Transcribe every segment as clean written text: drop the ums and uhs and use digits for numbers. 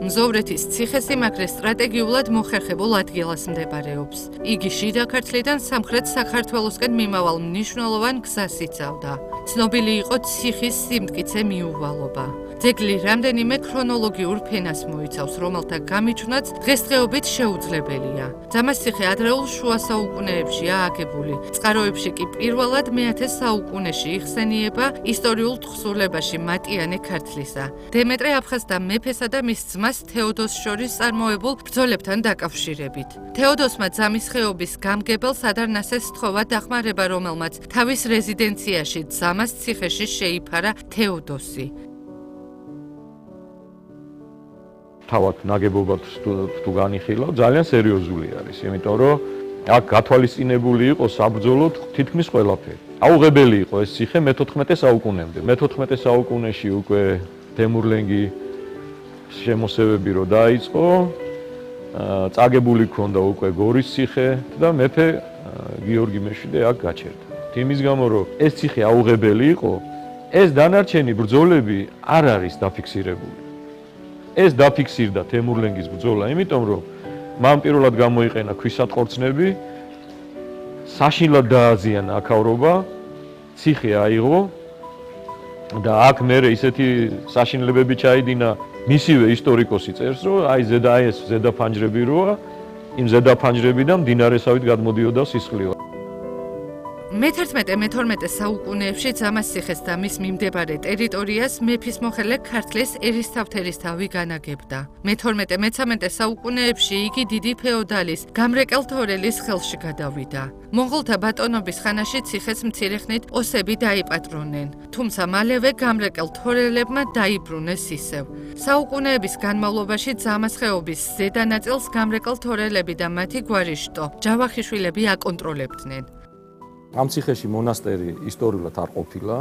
მზოვრეთის ციხესიმაგრე სტრატეგიულად მოხერხებულ ადგილას მდებარეობს. იგი შიდა ქართლიდან სამხრეთ საქართველოსკენ მიმავალ მნიშვნელოვან გზას იცავდა. ცნობილი იყო ციხის სიმტკიცე მიუვალობა. ძეგლი რამდენიმე ქრონოლოგიურ ფენას მოიცავს, რომელთა გამიჩნაც დღესდღეობით შეუძლებელია. ძამასციხე ადრეულ შუა საუკუნეებშია აგებული. წყაროებში კი პირველად მე-10 საუკუნეში იხსენიება ისტორიულ თხზულებაში მატიანე ქართლისა, დემეტრე აფხაზთა მეფესა და მის ძმას თეოდოსს შორის წარმოებულ ბრძოლებთან დაკავშირებით. თეოდოსმა ძამის ხეობის გამგებელს ადარნასეს სთხოვა დახმარება, რომელმაც თავის რეზიდენციაში ძამას ციხეში შეიფარა თეოდოსი. თავად ნაგებობად თუ განიხილავ, ძალიან სერიოზული არის, იმიტომ რომ აქ გათვალისწინებული იყო საბრძოლოდ თითქმის ყველაფერი. აუღებელი იყო ეს ციხე მე-14 საუკუნემდე. მე-14 საუკუნეში უკვე თემურლენგი შემოსევები რო დაიწყო, წაგებული ქონდა უკვე გორის ციხე და მეფე გიორგი მეშვიდე აქ გაჩერდა. იმის გამო რომ ეს ციხე აუღებელი იყო, ეს დანარჩენი ბრძოლები არ არის დაფიქსირებული. ეს დაფიქსირდა თემურლენგის ბრძოლა, იმიტომ რომ მან პირველად გამოიყენა ქვისატყორცნები, საშინლად დააზიანა აქავრობა, ციხე აიღო და აქ მერე ისეთი საშინლებები ჩაიდინა, მისივე ისტორიკოსი წერს, რომ აი ეს ზედაფანჯრები როა, იმ ზედაფანჯრებიდან მდინარესავით გადმოდიოდა სისხლი. მე-11-მე-12 საუკუნეებში ძამასციხეს და მის მიმდებარე ტერიტორიას მეფის მოხელე ქართლის ერისთავთერისთავი განაგებდა. მე-12-მე-13 საუკუნეებში იგი დიდი ფეოდალის გამრეკელ თორელის ხელში გადავიდა. მონღოლთა ბატონობის ხანაში ციხეს მცირე ხნით ოსები დაიპატრონენ, თუმცა მალევე გამრეკელ თორელებმა დაიბრუნეს ისევ. საუკუნეების განმავლობაში ძამას ხეობის ზედა ნაწილს გამრეკელ თორელები და მათი გვარიშტო, ჯავახიშვილები აკონტროლებდნენ. ამ ციხეში მონასტერი ისტორიულად არ ყოფილა.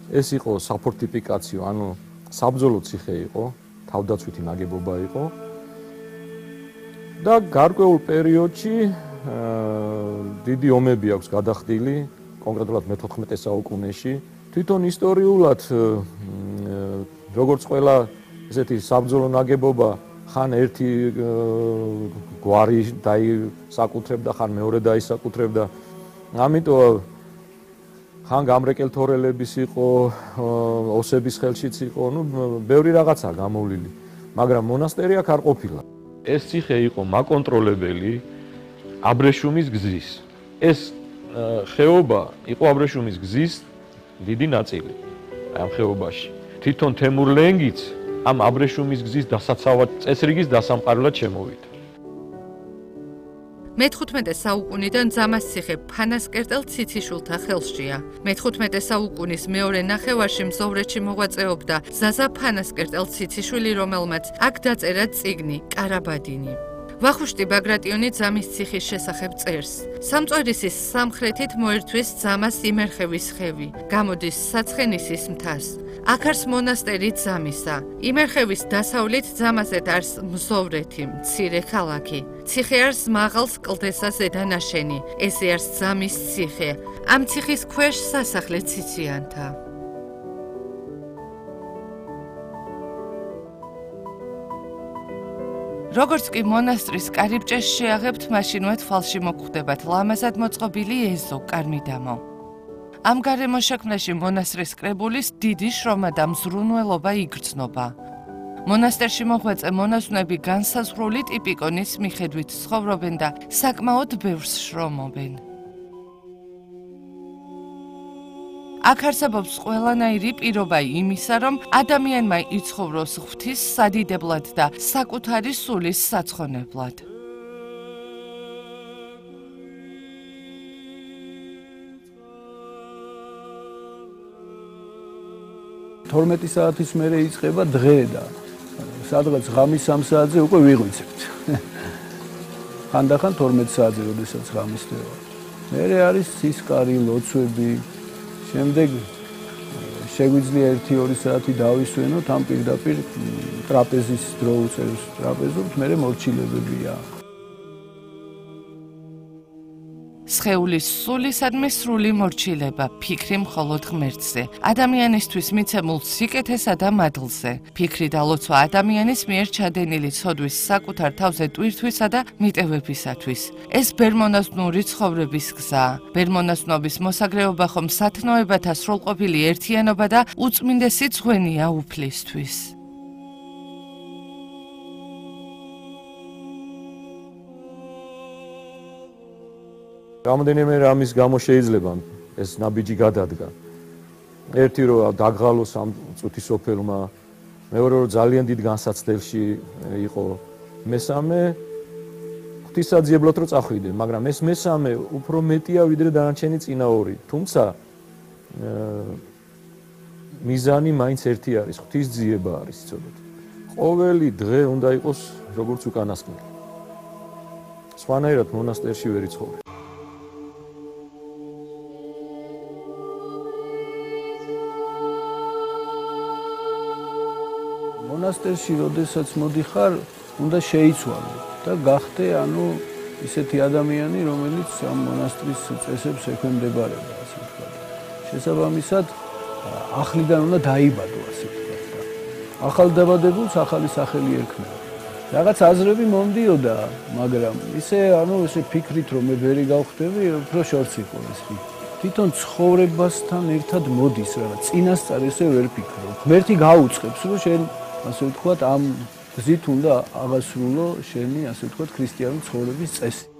ეს იყო საფორტიფიკაციო, ანუ საბრძოლო ციხე იყო, თავდაცვითი ნაგებობა იყო. და გარკვეულ პერიოდში დიდი ომები აქვს გადახდილი, კონკრეტულად მე-14 საუკუნეში. თვითონ ისტორიულად როგორც ყველა ესეთი საბრძოლო ნაგებობა, ხან ერთი გვარი დაისაკუთრებდა, ხან მეორე დაისაკუთრებდა. ამიტომ ხან გამრეკელ თორელების იყო, ოსების ხელშიც იყო, ბევრი რაღაცა გამოვლილი, მაგრამ მონასტერი აქ არ ყოფილა. ეს ციხე იყო მაკონტროლებელი აბრეშუმის გზის. ეს ხეობა იყო აბრეშუმის გზის დიდი ნაწილი ამ ხეობაში. თვითონ თემურლენგიც ამ აბრეშუმის გზის დასაცავად წესრიგის დასამყარებლად შემოვიდა. მე-15 საუკუნიდან ძამასციხე ფანასკერტელ ციციშვილთა ხელშია. მე-15 საუკუნის მეორე ნახევარში მზოვრეთში მოღვაწეობდა ზაზა ფანასკერტელ ციციშვილი, რომელმაც აქ დაწერა წიგნი „კარაბადინი“. ვახუშტი ბაგრატიონი ძამის ციხის შესახებ წერს. სამწვერისის სამხრეთით მოერთვის ძამას იმერხევის ხევი, გამოდის საცხენისის მთას. აქ არის მონასტერი ძამისა. იმერხევის დასავლით ძამაზეთ არის მზოვრეთი, მცირე ქალაქი. ციხე არის მაღალ სკლდესა ზედანაშენი. ესე არის ძამის ციხე. ამ ციხის ქვეშ სასახლე ციციანთა. როგორც კი მონასტრის კარიბჭეს შეაღებთ, მაშინვე თვალში მოგხვდებათ ლამაზად მოწყობილი ეზო, კარმიდამო. ამ გარემოშექმნაში მონასტრის კრებულის დიდი შრომა და მზრუნველობა იგრძნობა. მონასტერში მოღვაწე მონაზვნები განსაზღვრული ტიპიკონის მიხედვით ცხოვრობენ და საკმაოდ ბევრს შრომობენ. აქ არსებობს ყველანაირი პირობა იმისა, რომ ადამიანმა იცხოვროს ღვთის სადიდებლად და საკუთარი სულის საცხონებლად. თორმეტი საათის მერე იწყება დღე და სადღაც ღამის 3 საათზე უკვე ვიღვიცებთ. ხანდახან 12 საათზე, როდესაც ღამის დღეა. მერე არის სისკარი, ლოცვები. შემდეგ შეგვიძლია 1-2 საათი დავისვენოთ, ამ პირდაპირ ტრაპეზის დრო უწევს ტრაპეზობთ, მერე მორჩილებებია. სხეულის სულისადმი სრული მორჩილება, ფიქრი მხოლოდ ღმერთზე, ადამიანისთვის მიცემულ სიკეთესა და მადლზე, ფიქრი და ლოცვა ადამიანის მიერ ჩადენილი ცოდვის საკუთარ თავზე ტვირთვისა და მიტევებისათვის. ეს ბერმონაზვნური ცხოვრების გზაა. ბერმონაზვნობის მოსაგრეობა ხომ სათნოებათა სრულყოფილი ერთიანობა და უწმინდესი ძღვენია უფლისთვის. რამდენიმე რამის გამო შეიძლება ეს ნაბიჯი გადადგა. ერთი რომ დაგღალოს ამ წუთის სოფელმა, მეორე რომ ძალიან დიდ განსაცდელში იყო, მესამე ღვთისაძიებლად რომ წახვიდნენ, მაგრამ ეს მესამე უფრო მეტია ვიდრე დანარჩენი წინა ორი. თუმცა მიზანი მაინც ერთი არის, ღვთისძიება არის ცოდოთ. ყოველი დღე უნდა იყოს როგორც უკანასკნელი. სხვანაირად მონასტერში ვერ იცხოვრე. მონასტერში როდესაც მოდიხარ, უნდა შეიცვალო და გახდე, ისეთი ადამიანი, რომელიც ამ მონასტრის წესებს ექვემდებარება, ასე ვთქვათ. შესაბამისად, ახლიდან უნდა დაიბადო, ასე ვთქვათ და ახალდაბადებულს ახალი სახელი ერქმევა. რაღაც აზრები მომდიოდა, მაგრამ ესე ფიქრით რომ მე ვერი გავხდები, უფრო შორს იყო ეს ფიქრი. თვითონ ცხოვრებასთან ერთად მოდის რაღაც წინასწარ ესე ვერ ფიქრობ. ღმერთი გაუწყებს, რომ შენ ასე ვთქვათ, ამ გზით უნდა აღასრულო შენი, ასე ვთქვათ, ქრისტიანული ცხოვრების წესი.